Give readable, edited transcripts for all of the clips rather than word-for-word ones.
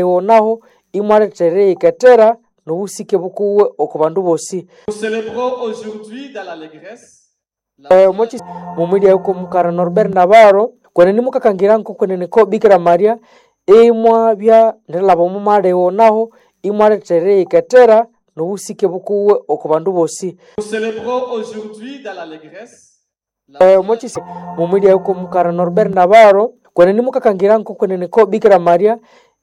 Naho imwaleta eriyikethera n'obusike bukuwe oko bandu bosi. Nous célébrons aujourd'hui dans l'allégresse la Mumwilya yuko mukara Norbert Navarro kwenene mukakangira nkokwenene ko Bikira Maria imwabya nerilhaba omo malegho naho imwaleta eriyikethera n'obusike bukuwe oko bandu bosi. Nous célébrons aujourd'hui dans l'allégresse la Mumwilya yuko mukara Norbert Navarro kwenene mukakangira nkokwenene ko Bikira Maria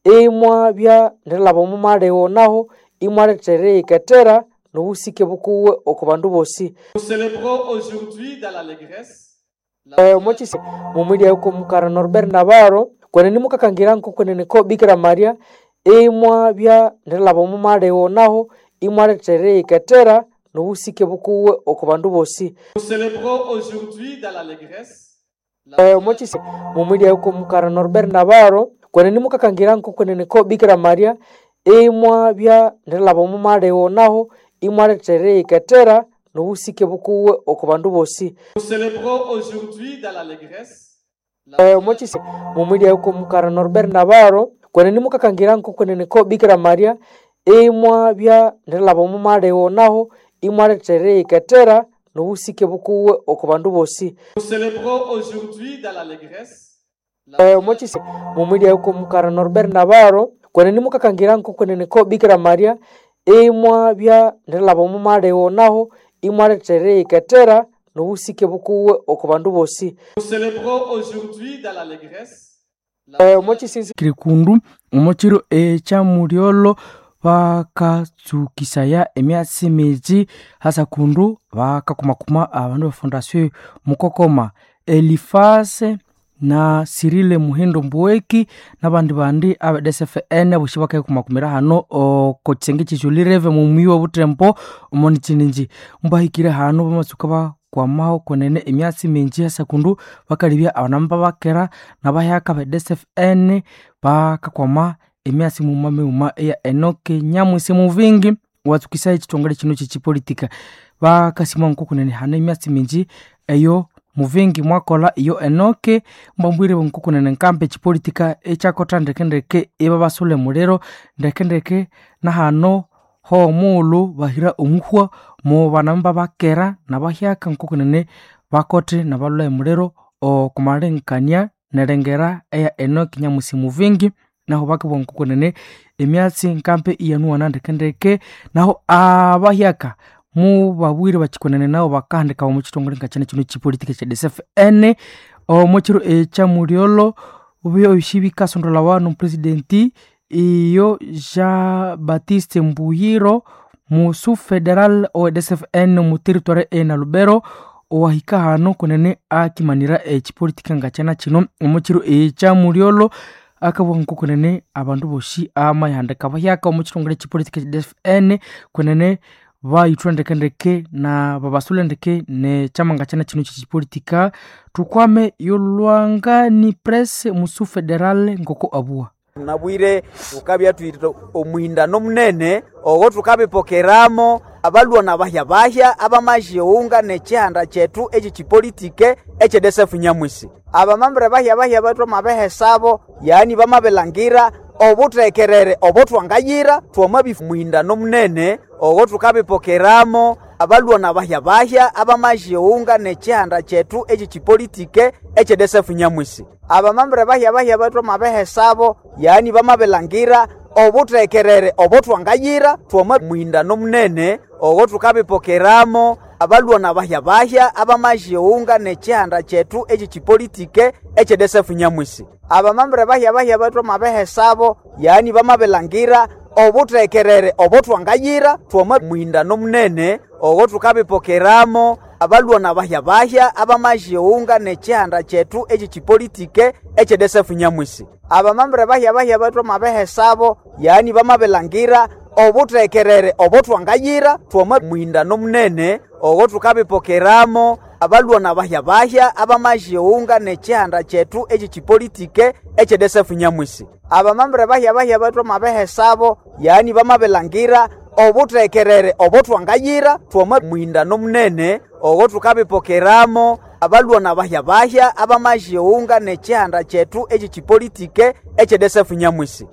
imwabya nerilhaba omo malegho naho imwaleta eriyikethera n'obusike bukuwe oko bandu bosi. Nous célébrons aujourd'hui dans l'allégresse la Mumwilya yuko mukara Norbert Navarro kwenene mukakangira nkokwenene ko Bikira Maria imwabya nerilhaba omo malegho naho imwaleta eriyikethera n'obusike bukuwe oko bandu bosi. Nous célébrons aujourd'hui dans l'allégresse la Mumwilya yuko mukara Norbert Navarro kwenene mukakangira nkokwenene ko Bikira Maria imwabya nerilhaba omo malegho naho imwaleta eriyikethera n'obusike bukuwe oko bandu bosi. Nous célébrons aujourd'hui dans l'allégresse la Mumwilya yuko mukara Norbert Navarro kwenene mukakangira nkokwenene ko Bikira Maria imwabya nerilhaba omo malegho naho imwaleta eriyikethera n'obusike bukuwe oko bandu bosi. Nous célébrons aujourd'hui dans l'allégresse la Mumwilya yuko mukara Norbert Navarro kwenene mukakangira nkokwenene ko Bikira Maria imwabya nerilhaba omo malegho naho imwaleta eriyikethera n'obusike bukuwe oko bandu bosi. Nous célébrons aujourd'hui dans l'allégresse la Kirikundu omukiro ekyamulyolho bakatsukisaya emyatsi miji hasa kundu bakakumakuma abandu befondasio mukokoma Elifase na Sirile Muhindo Mbuweki nabandi bandi abe DSFN boshi bakayikumakumira hano oko kisenge kyesyo mumuyi wa Butembo omoni chininji mbahikire hano bamatsuka bakwamaho kwenene emyatsi mingi hasa kundu bakalibya abanamba bakera nabahyaka be DSFN bakakwama emyatsi muma mighuma eya Enoke Nyamwisi Muvingi watsukisa ekitongole kino kyekipolitika bakasima nkokunene hano emyatsi mingi eyo Muvingi mwakola iyo Enoke mbambwire nkokunene nkampa ekipolitika ekyakotha ndekendeke ibabasule muliro ndekendeke nahano homughulhu bahira omuhwa mu banamba bakera nabahyaka nkokunene bakothe nabalhwa emuliro okumalengekania nerengera eya Enoke Nyamwisi Muvingi naho bakabugha nkokunene emyatsi nkampe iyanuwana ndekendeke naho abahyaka mubabwire bakikunene nabo bakahandika omu kitongole nga kino kino kipolitika kya DSFN omukiro ekyamulyolho ebyosi bikasondolawa nomupresidenti iyo Jean Baptiste Mbuyiro musu federal owe DSFN omu territory ena Lubero owahika hano kunene akimanira ekipolitika nga kyana kino omukiro ekyamulyolho akabugha nkokunene abandu bosi amayihandika bahyaka omu kitongole ekipolitika kya DSFN kunene bayithwa ndekendeke na babasule ndeke nekyama nga kyana kino kyekipolitika thukwame yolwangani press musu federal ngoko abuwa Nabwire tukabya twite omuhindano munene ogho tukabipokeramo abalwa nabahya bahya abamajiunga nekihanda kyethu ekyekipolitike ekye DSF Nyamwisi. Abamambere bahya bahya bethu amabehesabo yani bamabilangira obuthekerere obutwangayira twamabi muhindano munene ogho tukabipokeramo abalwa nabahya bahya abamajiunga nekihanda kyethu ekyekipolitike ekye DSF Nyamwisi. Abamambere bahya bahya bethu amabehesabo yani bamabilangira obuthekerere obutwangayira twama muhindano munene ogho tukabipokeramo abalwa nabahya bahya abamajiunga nekihanda kyethu ekyekipolitike ekye DSF Nyamwisi. Abamambere bahya bahya bethu amabehesabo yani bamabilangira obuthekerere obutwangayira twama muhindano munene ogho tukabipokeramo abalwa nabahya bahya abamajiunga nekihanda kyethu ekyekipolitike ekye DSF Nyamwisi. Abamambere bahya bahya bethu amabehesabo yani bamabilangira obuthekerere obutwangayira twama muhindano munene ogho tukabipokeramo abalwa nabahya bahya abamajiunga nekihanda kyethu ekyekipolitike ekye DSF Nyamwisi. Abamambere bahya bahya bethu amabehesabo yani bamabilangira obuthekerere obutwangayira twama muhindano munene ogho tukabipokeramo abalwa nabahya bahya abamajiunga nekihanda kyethu ekyekipolitike ekye DSF Nyamwisi.